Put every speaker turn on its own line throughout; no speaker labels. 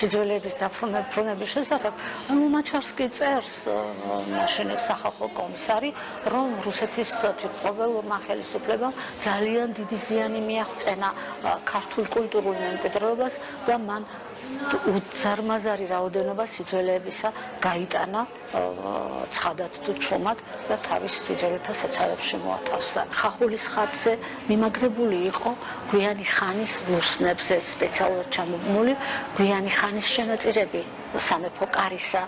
სიძველეების დაფრუნების შესახებ ლუნაჩარსკი წერს მაშინ სახალხო კომისარი, რომ რუსეთის თვითმყოფელურმა ხელისუფლებამ ძალიან დიდი ზიანი მიაღწენა ქართულ კულტურულ მემკვიდრეობას და მან უზარმაზარი რაოდენობა სიძველეებისა გაიტანა ცხადად თუ ჩუმად და თავის სიძველეთა საცავებში მოათავსა. ხახულის ხატზე მიმაგრებული იყო გვიანი ხანის ლურსმნებზე სპეციალურად ჩამობნული გვიანი ხანის შენაწირები სამეფო კარისა,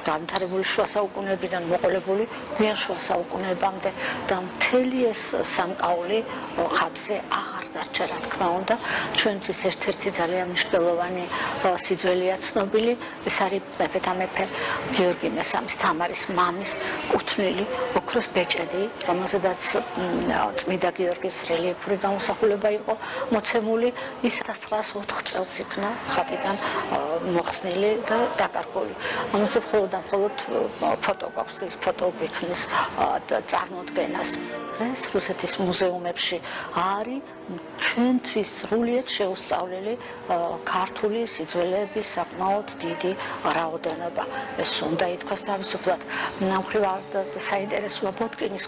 განვითარებული შუა საუკუნეებიდან მოყოლებული გვიან შუა საუკუნეებამდე და მთელი ეს სამკაული ხატზე აღარ დარჩა, რა თქმა უნდა. ჩვენთვის ერთ-ერთი ძალიან მნიშვნელოვანი სიძველეა ცნობილი, ეს არის მეფეთა მეფე გიორგი მესამის თამარის მამის კუთვნილი ოქროს ბეჭედი, რომელზედაც წმიდა გიორგის რელიეფური გამოსახულება იყო მოცემული. ის 1904 წელს იქნა ხატიდან მოხსნილი და დაკარგული. ამაზე მხოლოდ ფოტო გვაქვს, ეს ფოტო გვიქმნის წარმოდგენას. დღეს რუსეთის მუზეუმებში არის ჩვენთვის სრულიად შეუსწავლელი ქართული სიძველეების საკმაოდ დიდი რაოდენობა. ეს უნდა ითქვას თავისუფლად. ნამხრივად საინტერესოა ბოტკინის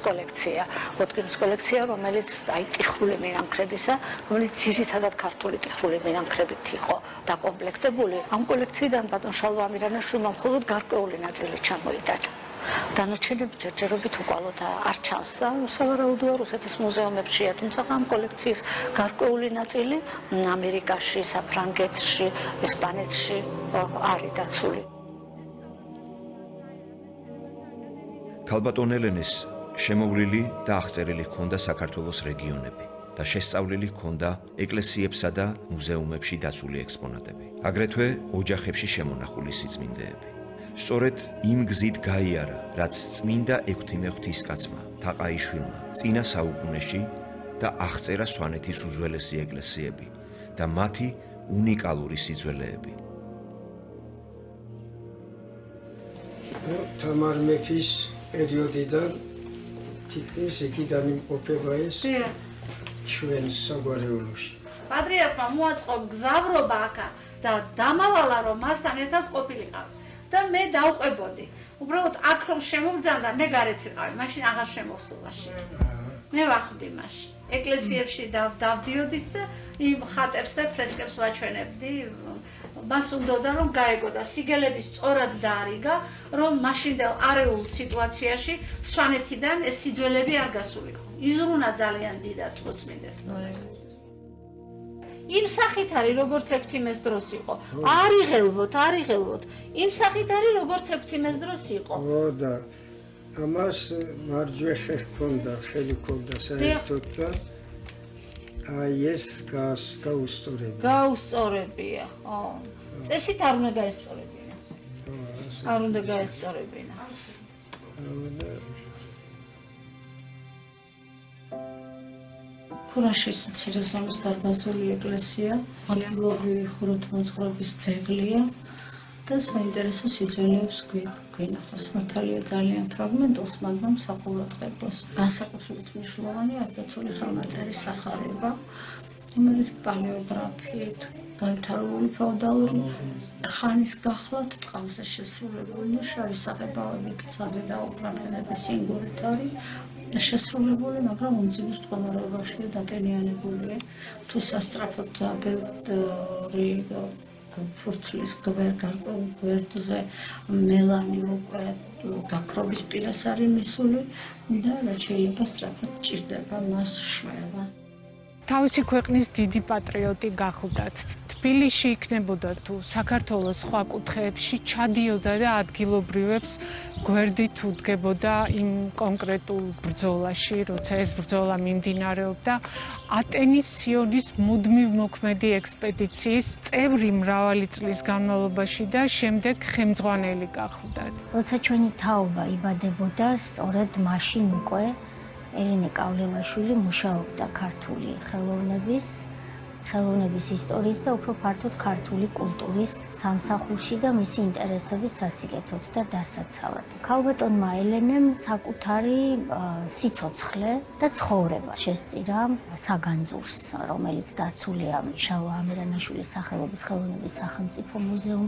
კოლექცია, რომელიც ტიხრული მინანქრებისა, რომელიც ძირითადად ქართული ტიხრული მინანქრებით იყო დაკომპლექტებული. ამ კოლექციიდან ბატონ შალვა ამირანაშვილმა მხოლოდ გარკვეული ნაწილი ჩამოიტანა. დანარჩენები ჯერჯერობით უკვალოდ არ ჩანს და სავარაუდოა რუსეთის მუზეუმებშია, თუმცა ამ კოლექციის გარკვეული ნაწილი ამერიკაში, საფრანგეთში, ესპანეთში არის დაცული.
ქალბატონ ელენეს შემოვლილი და აღწერილი ჰქონდა საქართველოს რეგიონები და შესწავლილი ჰქონდა ეკლესიებსა და მუზეუმებში დაცული ექსპონატები. აგრეთვე ოჯახებში შემონახული სიწმინდეები. სწორედ იმ გზით გაიარა, რაც წმინდა ექვთიმე ღვთისკაცმა თაყაიშვილმა წინა საუკუნეში და აღწერა სვანეთის უძველესი ეკლესიები და მათი უნიკალური სიძველეები.
თამარ მეფის პერიოდიდან თითქმის იქიდან იმყოფება ეს ჩვენ საგვარეულოში.
პატრიარქმა მოაწყო გზავრობა აქა და დამავალა, რომ მასთან ერთად ყოფილიყავ. და მე დავყვებოდი. უბრალოდ აქ რომ შემობძანდა, მე გარეთ ვიყავი, მაშინ აღარ შემოსულაში. მე ვახდი მაშინ. ეკლესიებში დავდიოდით და იმ ხატებს და ფრესკებს ვაჩვენებდი. მას უნდოდა რომ გაეგო და სიგელების სწორად დაარიგა, რომ მაშინდელ არეულ სიტუაციაში სვანეთიდან ეს სიძველეები არ გასულიყო. იზრუნა ძალიან დიდად მოწმინდეს პროექტს. იმ სახით არის, როგორც ექვთიმეს დროს იყო. არ იღელვოთ. იმ სახით არის, როგორც ექვთიმეს დროს იყო.
ო და ამას მარჯვე ხელი ჰქონდა საერთოდ და აი ეს გაუსწორებია.
გაუსწორებია. წესით არ უნდა გაესწორებინა. არ უნდა გაესწორებინა.
ქურაშის მცირე ზომის დარბაზული ეკლესია, ადგილობრივი ხუროთმოძღვრების ძეგლია და საინტერესო სიძველეებს გვინახავს. მართალია ძალიან ფრაგმენტულს, მაგრამ საყურადღებოს. განსაკუთრებით მნიშვნელოვანია აკაცული ხელნაწერი სახარება, რომელიც პალეოგრაფიით განვითარებული ფეოდალური ხანის გახლავთ ტყავზე შესრულებული და შავი საღებავებით საზედაუბრალენების სინგურით არის შესრულებული, მაგრამ უმძიმეს მდგომარეობაშია დატენიანებულია. თუ სასწრაფოდ ბევრი ფურცლის გვერდზე მელანი უკვე გაქრობის პირას არის მისული და რაც შეიძლება სწრაფად ჭირდება მას შვება.
თავისი ქვეყნის დიდი პატრიოტი გახლდათ. თბილისში იქნებოდა თუ საქართველოს სხვა კუთხეებში ჩადიოდა და ადგილობრივებს გვერდით უდგებოდა იმ კონკრეტულ ბრძოლაში, როცა ეს ბრძოლა მიმდინარეობდა. ატენის სიონის მუდმივ მოქმედი ექსპედიციის წევრი მრავალი წლის განმავლობაში და შემდეგ ხელმძღვანელი გახლდათ.
როცა ჩვენი თაობა იბადებოდა, სწორედ მაშინ უკვე ელენე კავლელაშვილი მუშაობდა ქართული ხელოვნების ხელოვნების ისტორიის და უფრო ფართოდ ქართული კულტურის სამსახურში და მისი ინტერესების სასიკეთოდ და დასაცავად. ქალბატონმა ელენემ საკუთარი სიცოცხლე და ცხოვრება შესწირა საგანძურს, რომელიც დაცულია შალვა ამირანაშვილის სახელობის ხელოვნების სახელმწიფო მუზეუმში.